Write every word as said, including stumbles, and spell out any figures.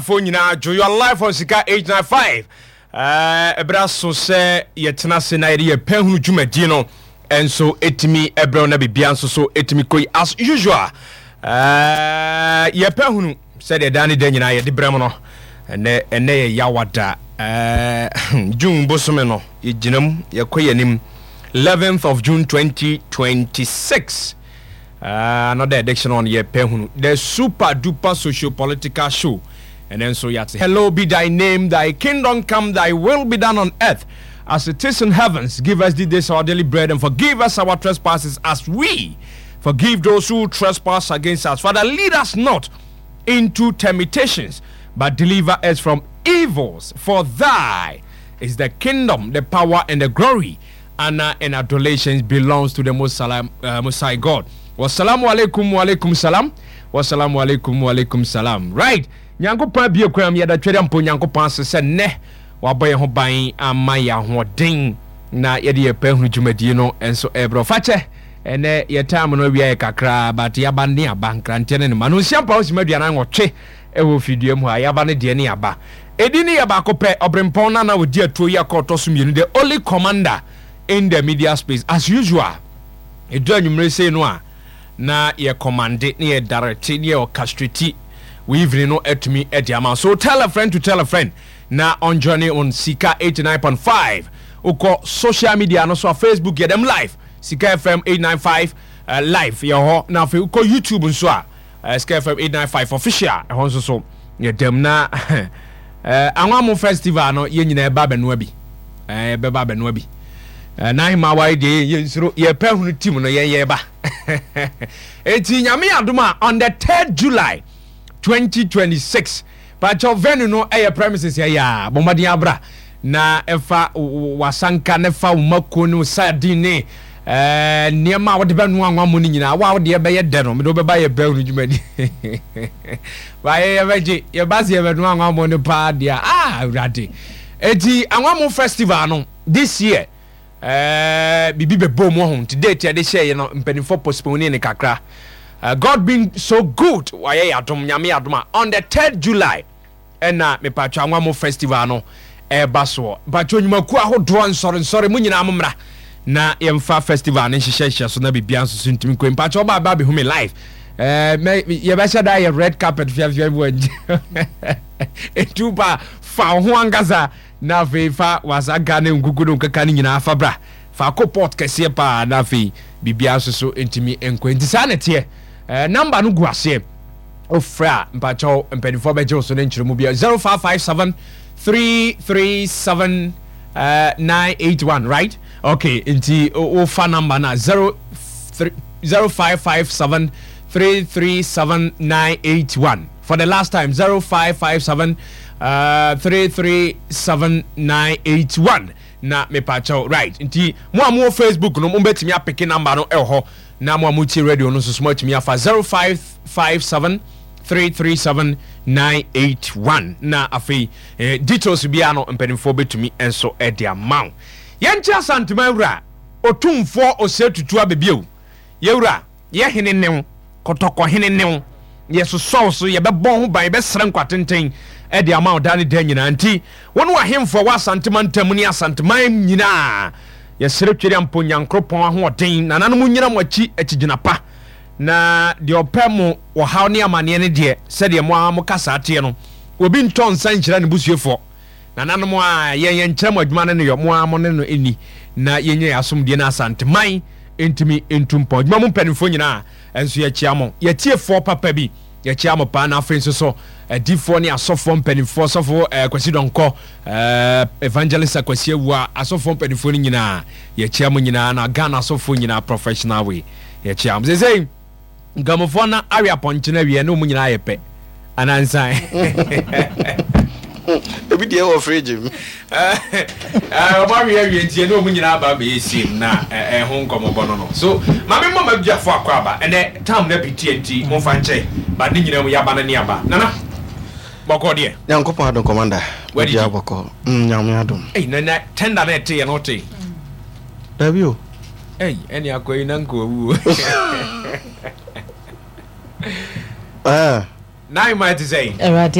Fo nyinaa dwo. You are live on Sika eight nine five. Ɛberɛ aso sɛ yɛtena ase na yɛde yɛpɛ hunu dwumadie no ɛnso ɛtumi ɛbrɛw na biribia nso so ɛtumi kɔyi as usual. uh, yɛpɛ hunu sɛdeɛ daa ne da nyinaa yɛde brɛ mu no. Ɛnɛ ɛnɛ yɛ Yawada, uh, June bosome no yɛgyina mu, yɛkɔ yɛnim eleventh of June twenty twenty-six. uh, another edition on Yɛpɛ Hunu, the super duper socio political show. And then so yɛate, "Hello be thy name, thy kingdom come, thy will be done on earth as it is in heavens. Give us this day our daily bread and forgive us our trespasses as we forgive those who trespass against us. Father, lead us not into temptations, but deliver us from evils. For thy is the kingdom, the power, and the glory. Honor and adulations belongs to the Most, Salam, uh, Most High God." Wassalamu alaikum wa alaikum salam. Wassalamu alaikum wa alaikum salam. Right. Nyankopɔn abie kwan mu, yɛda twɛdɛ mpo Nyankopɔn ase sɛ nnɛ wabɔ yɛn ho ban ama yɛ ahoɔden na yɛde yɛ pɛ hunu dwumadie no nso ɛbrɛ fakyɛ. Ɛnɛ yɛ time no awia yɛ kakraa, but yɛaba ne aba nkranteɛ ne ne ma no nsia mpa osima aduanan nwɔtwe ɛwɔ fidua mu ha. Yɛaba ne deɛ ne yɛaba ɛdi ne yɛ baako pɛ, ɔbrempɔn nana ɔdi atuo yi akɔ ɔtɔ so mmienu, the only commander in the media space. As usual, ɛdu anwummerɛ sei no a na yɛ command ne yɛ direct ne yɛ orchestrate we evening no atumi ɛde ama. So tell a friend to tell a friend na on journey on Sika eighty-nine point five. Wokɔ social media no so a, Facebook yɛdɛm live, Sika F M eight nine five uh, live yɛ hɔ, na afei wokɔ YouTube nso a, uh, Sika F M eight nine five official, ɛhɔ nso so yɛdɛm. Na uh, Anwamo Festival no, yɛn nyinaa ɛba abɛnoa bi, ɛbɛba abɛnoa bi. uh, na ahema aware deɛ, yɛnsuro yɛpɛ hunu team no, yɛn yɛba. Eti Nyame adom a, on the third July twenty twenty-six, pakyɛw, venue no ɛyɛ premises yɛ a bɔmmɔden abra na ɛfa wasanka ne fa wo mako ne wo sardine ne ɛɛ nneɛma a wɔde bɛnoa anwa mu no nyinaa. Wa a wɔde ɛbɛyɛ dɛ no, mede wobɛba yɛ bɛn no dwumadi baayɛ, yɛbɛgye yɛba se yɛbɛnoa anwa mu no paa deɛ. Ah, Awurade! Eti Anwa Festival no this year, ɛɛ biribi bɛbɔ mu ho nti date yɛde hyɛɛ no, mpanimfoɔ postpone ne kakra. uh, God being so good, wayɛ yɛ adom, Nyame yɛ adom a, on the third July ɛna mepatwa Anwamo Festival no ɛreba soɔ. Mpatwa nnwumakuo ahodoɔ, nsɔre nsɔre mu nyinaa mo mmra na yɛmfa festival no nhyehyɛhyɛ so na biribia nso so ntumi nkɔ. Mpatwa ɔba aba abɛhu me live, ɛɛ mɛ yɛbɛhyɛ da yɛ red carpet fiafia bi wɔ nkyɛn. Etu pa fa wo ho ankasa na afei fa wasanka ne nkuku ne nkeka no nyinaa fa bra, fa kɔ pot kɛseɛ paa na afei biribia nso so ntumi nkɔ. Nti saa na ɛteɛ. ɛɛ number no gu aseɛ, ofrɛ a, mpakyɛw, mpanimfoɔ bɛgye wo so ne nkyerɛmu bia zero five five seven three three seven uh, nine eight one, right? Okay, nti wofa number na zero three zero five five seven three three seven nine eight one. For the last time, zero five five seven uh, three three seven nine eight one. Na mepakyɛw, right, nti mo a mowɔ Facebook no, mobɛtumi apick number no ɛwɔ hɔ, na mo a motie radio no nso so moatumi afa zero five five seven three three seven nine eight one. Na afei eh, details biara no, mpanimfoɔ bɛtumi nso de ama wo. Yɛnkyɛ Asantema wura Otumfoɔ Ɔsɛ Tutu Abɛbiew, yɛwura yɛhene new Kɔtɔkɔhene new, yɛsosɔw so, yɛbɛbɔ ho ban, yɛbɛsrɛ nkwatenten ɛde ama wo daa ne da nyinaa. Nti wɔne wahemfo a wɔ Asantema ntam ne Asanteman nyinaa, yɛsrɛ Twere ampo Nyankoropɔn ahoɔden, nananom nyina mo akyi akyigyina pa, na deɛ ɔpɛ mo ɔhaw ne amanneɛ no deɛ, sɛdeɛ mo a mo kasa teɛ no, obi ntɔ nsa nhyira ne busuefoɔ. Nananom a yɛn yɛnkyerɛ mo adwuma no ne yɔ mo a mo ne no ɛni na yɛnyɛ yɛ asomdie no, Asanteman ntumi ntu mpɔn. Adwuma mu mpanimfoɔ nyinaa nso, yɛkyia mo. Yɛtiefoɔ papa bi, yɛkyia mo paa. Na afei nso so adifoɔ ne asɔfoɔ mpanimfoɔ, sɔfo eh, Kwasi Dɔnkɔ, eh, Evangelist Akwasi Awua, asɔfoɔ mpanimfoɔ no nyinaa, yɛkyia mo nyinaa. Na Ghana asɔfoɔ nyinaa, professional way, yɛkyia mo. Sesei nkramofoɔ na awe apɔnkye no awie ne ɔmu nyinaa yɛ pɛ anansan. Ebi deɛ wɔ fridge mu. Ɔmo awe awie nti ɛne ɔmo nyinaa aba abɛyɛ same na ɛho nkɔmmɔbɔ no no so. Maame, mmɔ ma abusuafo akɔ aba. Ɛnɛ tam na bi tie nti momfa nkyɛn ba ne nyinaa mu yɛaba no ne aba. Nana, bɔkɔ deɛ? Nyankopɔn adom, commander. Wadidi? Biribiara bɔkɔ. Mm, nyame adom. Ei, nana, tender na ɛte yɛ no wote? Dabi o. Ei, ɛne akɔ yi na nka wawu. Ah. Nine ma ɛte sɛ Awurade.